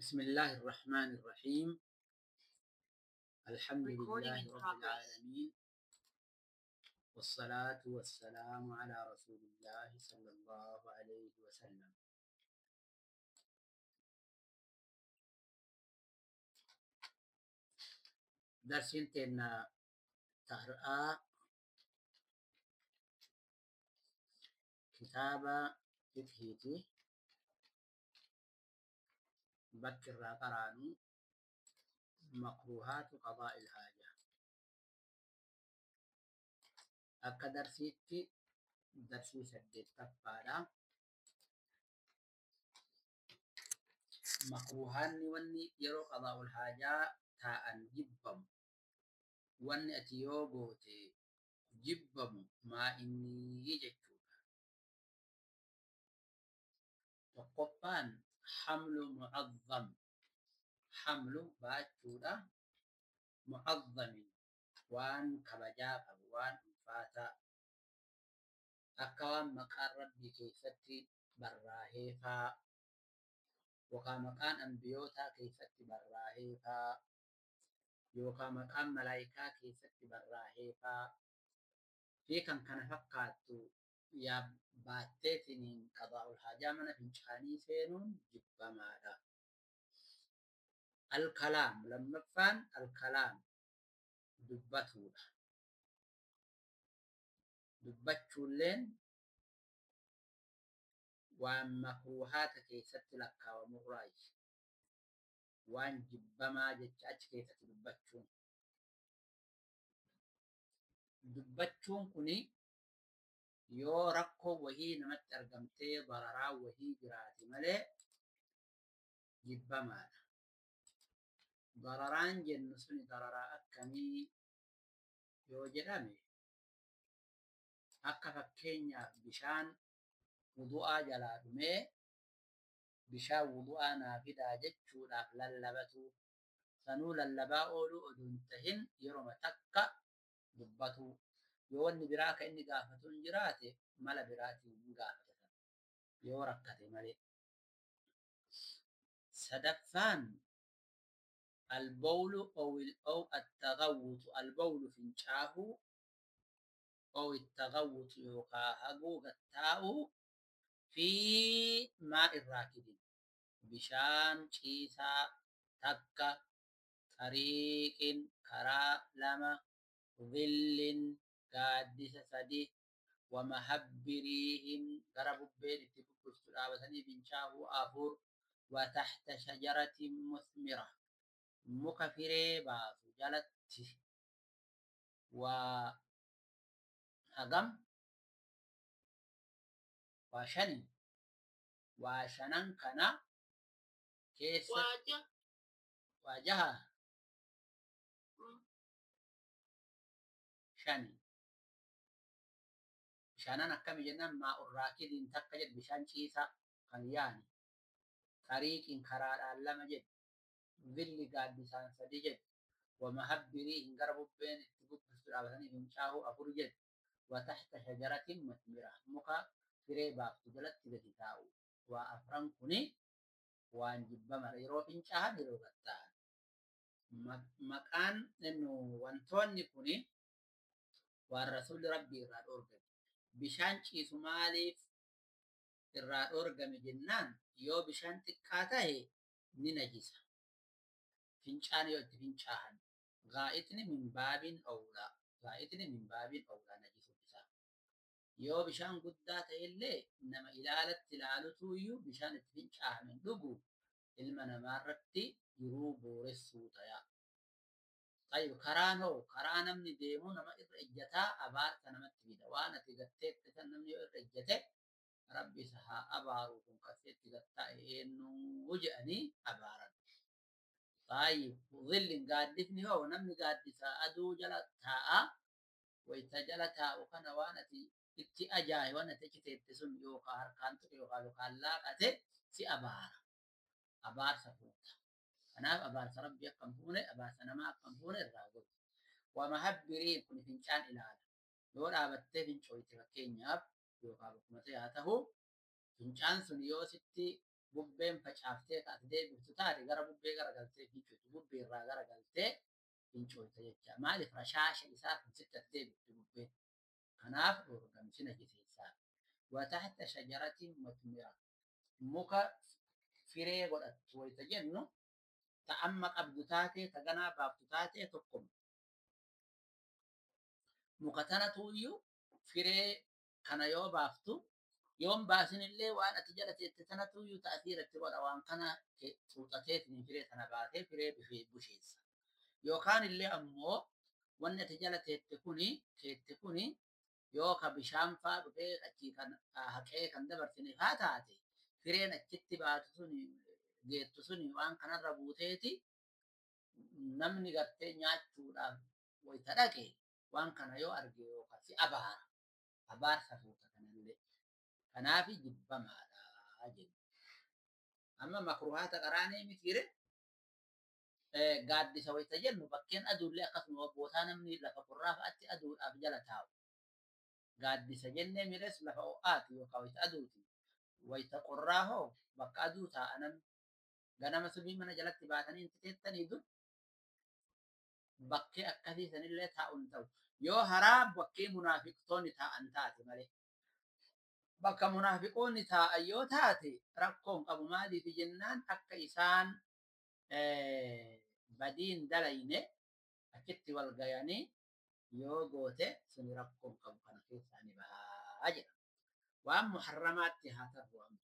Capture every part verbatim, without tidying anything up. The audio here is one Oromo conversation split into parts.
بسم الله الرحمن الرحيم. الحمد Recording لله in رب progress. العالمين، والصلاة والسلام على رسول الله صلى الله عليه وسلم. درسين تنا تهرآ كتابة فقهيتي بكر قرانو مكروهات قضاء الحاجة. أكا درسيتي درسي سديت تفارا مكروهان وني يرو قضاء الحاجة تاء جبم وني أتيو غوتي جبم ما إني يجتشو. وقفان حمل معظم، حمل باچودا معظم وان كبجا وان فاتا أكوان مقار ربي كيفتي براهيفا وكا مقان أنبيوتا كيفتي براهيفا يوكا مقان ملايكا كيفتي براهيفا في كان كان فقاتو يا باتتنين قضاء الحاجة من فنشاني سينون جبا ماذا. الكلام لما فان الكلام دبتودا دبتشولين ومكروهات كيست لك ومراي وان جبما جتش كيست دبتشون دبتشون كني yoo rakkoo wahii namatti argamtee bararaa wahii jiraate malee jibbamaadha. Bararaan jennu suni dararaa akkamii yoo jedhame akka fakkeenyaaf bishaan wudu'aa jalaa dhumee bishaan wudu'aa naa fidaa jechuudhaaf lallabatu sanuu lallabaa ooluu oduu hin tahin yeroma takka dubbatu. Yoo wanni biraa akka inni gaafatu hin jiraate mala biraatiin hin gaafata yoo rakkate malee. Sadaffaan albawlu ow attagawwutu, albawlu fincaahuu ow ittagawwutu yookaa haguu gattaa'uu fi maa'in raakidin bishaan ciisaa takka xariiqin karaa lama dhillin gaaddisa sadi wamahabbiriihin gara bubbeen itti bubbistu dhaabatanii fincaahuu afur wataxta shajaratin musmira muka firee baasu jalatti waa hagam waa shani waa shanan kana keessa Waja. waa jaha Mm. shani bishaanaan akkami jennaan maa'un raakidiin takka jedhu bishaan ciisaa kan yaani xariiqiin karaadhaan lama jedhu villi gaaddisaan sadi jedhu wamahabbiriihin gara bubbeen itti bubbistu dhaabatanii fincaahuu afur jedhu wataxta shajaratin musmira muka firee baaftu jalatti gadi taa'u waa afran kuni waan jibbamara yeroo fincaahan yeroo gatta'an. Maqaan wantoonni kuni waan rasuulli rabbii irraa dhoorgame. Bishaan ciisu maaliif irraa dhoorgame jennaan yoo bishaan xiqqaa ta'e ni najisa. Fincaan yoo itti fincaahan gaa'itni min baabiin owlaa gaa'itni min baabiin owlaa najisuun isaa. Yoo bishaan guddaa ta'ellee nama ilaalatti ilaalutu iyyuu bishaan itti fincaahame dhugu ilma namaarratti jiruu booressuu ta'a. طيب karaan hoo karaa namni deemu nama irra ejjataa abaarsa namatti fida. Waan ati gatteetti san namni yoo irra ejjate rabbi isa haa abaaru kun kaseetti gattaa'e eenyuu jedhanii abaaran. طيب dhillin gaaddifni hoo namni gaaddisa aduu jala taa'a wayita jala taa'u kana waan ati itti ajaaye waan ati achi teette sun yookaan harkaan tuqe yookaan lukaan laaqate si abaara. Abaarsa fuuta. Kanaaf abaarsa rabbii akka hin fuune abaarsa namaa akka hin fuune irraa godhu. Wamahabbiriin kun fincaan ilaala. Yoo dhaabattee fincooyte fakkeenyaaf yookaan bakkuma ta'e haa ta'u fincaan sun yoo sitti Bubbeen facaaftee ati deebiftu taate gara bubbee garagaltee fincooftu. Bubbee irraa garagaltee fincoofta jecha. Maaliif rashaasha isaa kun sitti ati deebiftu bubbeen. Kanaaf dhoorgame si najiseessaa. Wataxta shajaratin mutmira. Muka firee godhattu wayita jennu ta amma qabdu taatee ta ganaa baaftu taatee tokkoma. Muka tanatu iyyuu firee kana yoo baaftu yoon baasinillee waan ati jala teette tanatu iyyuu ta'asiiratti godha waan kana xuuxateetiin firee tana baatee firee busheessa. Yookaan illee ammoo wanni ati jala teette kuni teette kuni yoo ka bishaan faa dhufee achii kan haqee kan dabarsine faa taate fireen achitti baatu suni geettu suni waan kanarra buuteeti namni gartee nyaachuudhaaf wayita dhaqe waan kana yoo arge yookaan si abaara. Abaarsa fuuta kanallee. Kanaaf jibbamaadha jenna. Amma makruhaata qaraanee mitiire gaaddisa wayita jennu bakkeen aduullee akkasuma bootaa namni lafa qorraa fa'aatti aduudhaaf jala taa'u. Gaaddisa jennee mires lafa ho'aati yookaan wayita aduuti. Wayita qorraa hoo bakka aduu taa'a namni. Ganama subii mana jalatti baatanii hin teettanii dur bakkee akkasii sanillee taa'u hin ta'u. Yoo haraa bakkee munaafiqtoonni taa'an taate malee. Bakka munaafiqoonni taa'an yoo taate rakkoo hin qabu maaliif jennaan akka isaan badiin dalayne achitti wal gayanii yoo goote suni rakkoo hin qabu kana keessaa ni bahaa jedha. Waan muharramaatti haa ta'u amma.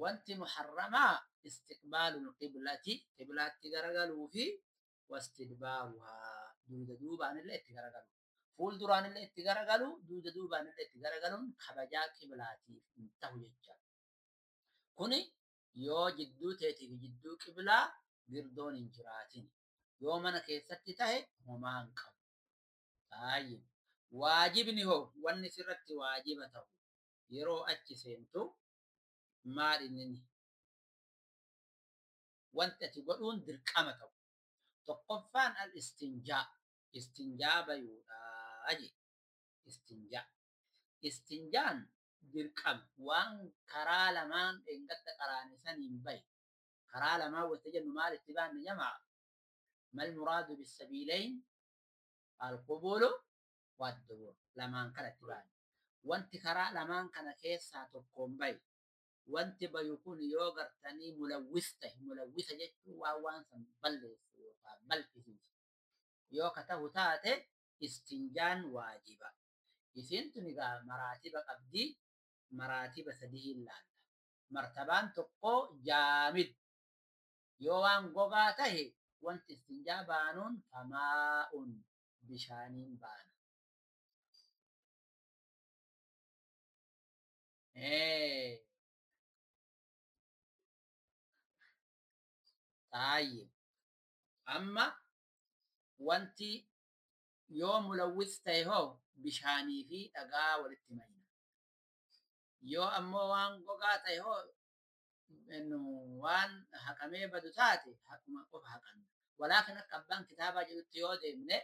Wanti muharramaa istiqbaalul qiblati qiblaatti garagaluu fi wastidbaaruhaa duuda duubaanillee itti garagalu. Fuulduraanillee itti garagalu duuda duubaanillee itti garagaluun kabajaa qiblaatiif hin ta'u jecha. Kuni yoo jidduu teetii fi jidduu qiblaa girdoon hin jiraatin. Yoo mana keessatti tahe homaa hin qabu. Taayib. Waajibni hoo wanni sirratti waajiba ta'u yeroo achi seentu maal inni wanti ati godhuun dirqama ta'u. Tokkoffaan al istinjaa. Istinjaa bayuudhaa jedhe. Istinjaa. Istinjaan dirqama waan karaa lamaan dheengadda qaraane saniin bahe. Karaa lamaan wanta jennu maal itti baanne jamaa? Mal muraadu bisabiilayn alqubulu waddubur. Lamaan kana itti baanne. Wanti karaa lamaan kana keessaa tokkoon bahe. Wanti bayu kun yoo gartanii mulawwis ta'e mulawwisa jechuun waan waan san balleessu yookaan balfisiisu. Yoo ka ta'u taate istinjaan waajiba. Isiin tun egaa maraatiba qabdii maraatiba sadii hin laalla. Martabaan tokko jaamid. Yoo waan gogaa tahe wanti istinjaa baanuun famaa'un bishaaniin baana. Taayib. Amma wanti yoo mulawwis ta'e hoo bishaanii fi dhagaa walitti mayna. Yoo ammoo waan gogaa ta'e hoo waan haqamee badu taate haquma qofa haqanna. Walaakin akka abbaan kitaabaa jedhutti yoo deemne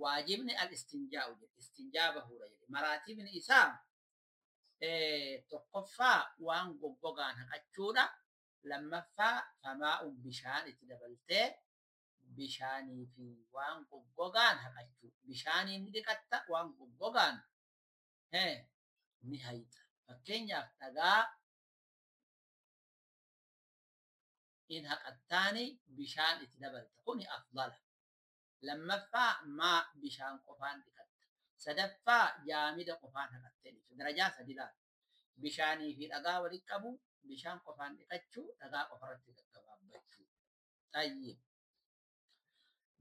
waajibni al istinjaa'u jedhe. Istinjaa bahuudha jedhe. Maraatibni isaa tokkoffaa waan goggogaan haqachuudha. Lammaffaa famaa'u bishaan itti dabaltee bishaanii fi waan goggogaan haqachuu. Bishaaniin ni dhiqatta waan goggogaan ni hayxa. Fakkeenyaaf dhagaa in haqattaani bishaan itti dabalta. Kuni afdala. Lammaffaa maa bishaan qofaan dhiqatta. Sadaffaa jaamida qofaan haqattee dhiqatta. Darajaa sadi laata. Bishaanii fi dhagaa walitti qabu, bishaan qofaan dhiqachuu, dhagaa qofarratti gaggabaabbachuu. Tayyib.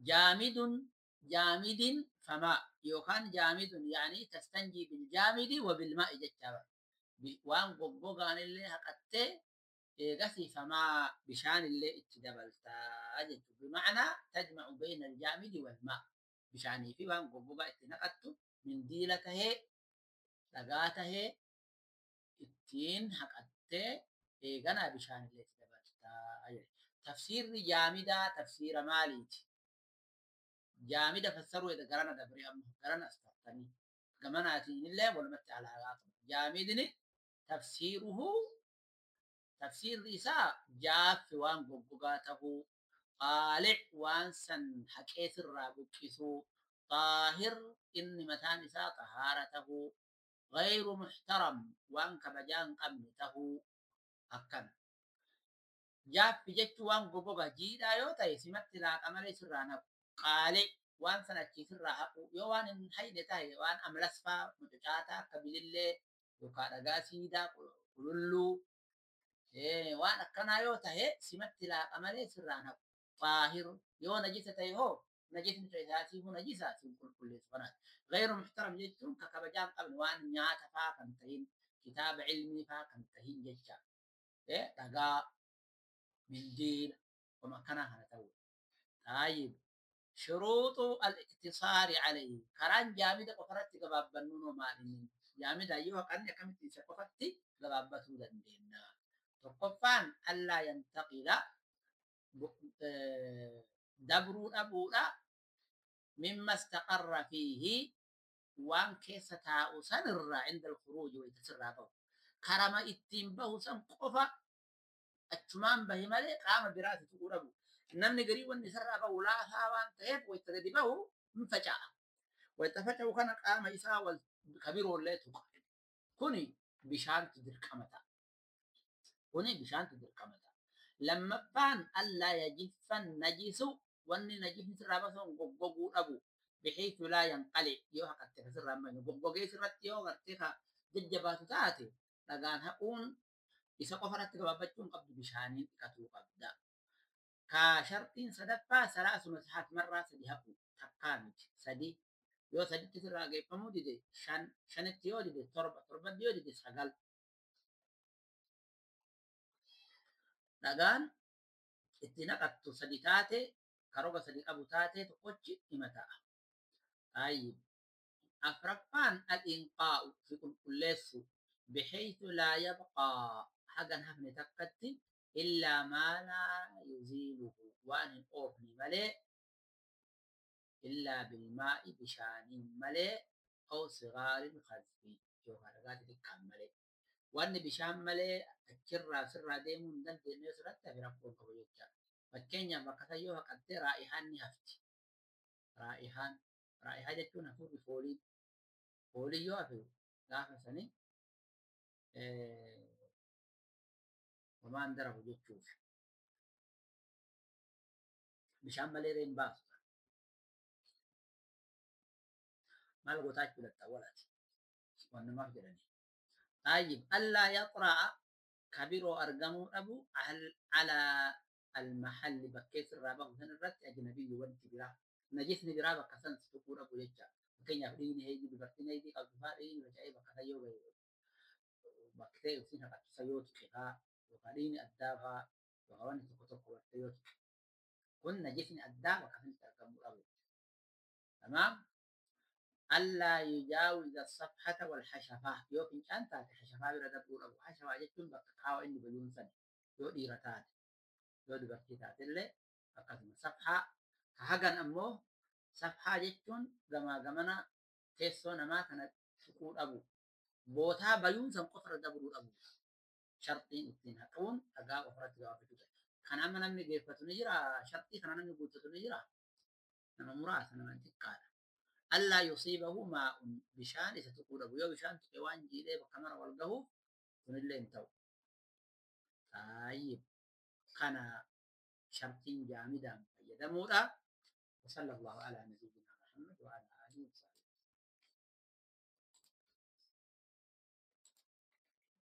Jaamidun jaamidin famaa yookaan jaamidun yaanii tastanjii biljaamidi wa bilmaa'i jechaa bara. Waan goggogaan illee haqattee eegasii famaa bishaan illee itti dabaltaa jechuudha. Bima'anaa tajma'u bayna aljaamidi walmaa. Bishaanii fi waan goggogaa itti naqattu mindiila tahee dhagaa tahee ittiin haqattee eeganaa bishaan illee itti dabaltaa jechuudha. Tafsiirri jaamidaa tafsiira maaliiti? Jaamida fassaruu edda garana dabree amma garana as tartanii gamanaatiin illee walumatti alaagaa qabu. Jaamidni tafsiiruhu Tafsiirri isaa jaaffi waan goggogaa tahuu, qaalic waan san haqee sirraa buqqisuu, xaahir inni mataan isaa xahaara tahuu, gayru muxtaram waan kabajaa hin qabne tahuu akkana. Jaaffi jechuun waan goggogaa jiidhaa yoo ta'e simatti laaqa malee sirraa haqu. Qaalic waan san achii sirraa haqu yoo waan hin hayne ta'e waan amlasfaa mucucaataa akka bilillee yookaan dhagaa siidaa qululluu waan akkanaa yoo ta'e simatti laaqa malee sirraan haqu. Xaahir yoo najisa ta'e hoo najisni isaatiifuu najisa sin qulqulleessu kanaati. Gayru muxtaram jechuun ka kabajaa hin qabne waan nyaata faa kan tahin kitaaba ilmii faa kan tahin jecha dhagaa mindiila wama akkanaa kana ta'u. Taayib shuruuxu al-iqtisaari alayhi karaan jaamida qofarratti gabaabbannu noo maali? Jaamida yoo haqanne akkamitti isa qofatti gabaabbatuu dandeenya? Tokkoffaan allaa yantaqila dabruu dhabuudha mimma istaqarra fiihi waan keessa taa'u sanirraa inda alkhuruuji wayita sirraa bahu. Karama ittiin bahu san qofa achumaan bahi malee qaama biraati tuquu dhabu. Namni garii wanni isarraa bahu laafaa waan ta'eef wayita gadi bahu hin faca'a. Wayita faca'u kana qaama isaa wal kabiroollee tuqa. Kuni bishaantu dirqama ta'a. Kuni bishaantu dirqama ta'a. Lammaffaan allaa yajiffa najisu wanni najisni sirraa basu goggoguu dhabu. Bixiitu laa yanqali yoo haqatte ka sirraa hin goggogee sirratti yoo gartee ka jajjabaatu taate dhagaan haquun isa qofarratti gabaabbachuu hin qabdu bishaaniin dhiqatuu qabda. Ka shartiin sadaffaa salaasu masahaat marraa sadi haqu takkaa miti sadi yoo saditti sirraa geeffamuu dide shan shanitti yoo dide torba torbatti yoo dide sagal. Dhagaan itti naqattu sadi taate karoga sadi qabu taate tokkochi hima ta'a. Taayib. Afraffaan al-inqaa'u fi qulqulleessu bixaytu laa yabqaa hagan hafne takkatti illaa maa laa yuziiluhu waan hin oofne malee illaa bilmaa'i bishaaniin malee aw sigaarin khazfi yookaan dhagaa xixiqqaan malee. Wanni bishaan malee achirraa sirraa deemuu hin dandeenye sirratti hafe rakkoon qabu jechaadha. Fakkeenyaaf bakka san yoo haqattee raa'ihaan ni hafti. Raa'ihaan raa'ihaa jechuun hafuurri foolii foolii yoo hafe gaafa sanii homaan darabu jechuuf. Bishaan malee reen baasu. Maal gootaa jechuudha walaati. Wannumaaf jedhanii. طيب ألا يطرأ كبيرو أرجمو أبو على المحل بكيس الرابع هنا الرت أجنبي وانت برا نجسني برا بكسن تقول أبو يجا كين يفرين هيدي ببرتين هيدي أو دفارين وجاي بكسيو بكتير سينها بكسيوت كها وقالين أداها وقواني تكتب وبكتيوت كن نجسني أدا بكسن ترجمو أبو تمام. ألا يجاوز الصفحة والحشفة يو فنجان تاتي حشفة برا دبور أبو حشفة جتون بكاو إني بدون سنة يو ديرة تاتي يو دبرتي تاتي اللي أقدم صفحة كهجن أمو صفحة جتون جما جمنا تيسو نما كانت تقول أبو بوتا بيون سن قفر دبور أبو شرطين اثنين هكون أجا أخرى تجاوب في كان أما نمي جيفتو نجرا شرطي كان نمي قلتو نجرا نما مراس نما انتقال ألا يصيبه ماء بشان إذا تقول أبو يو بشان تقوان جيلي بكاميرا والقهو ونلين تو. طيب كان شرطين جامدا يدمورا وصلى الله على نبينا.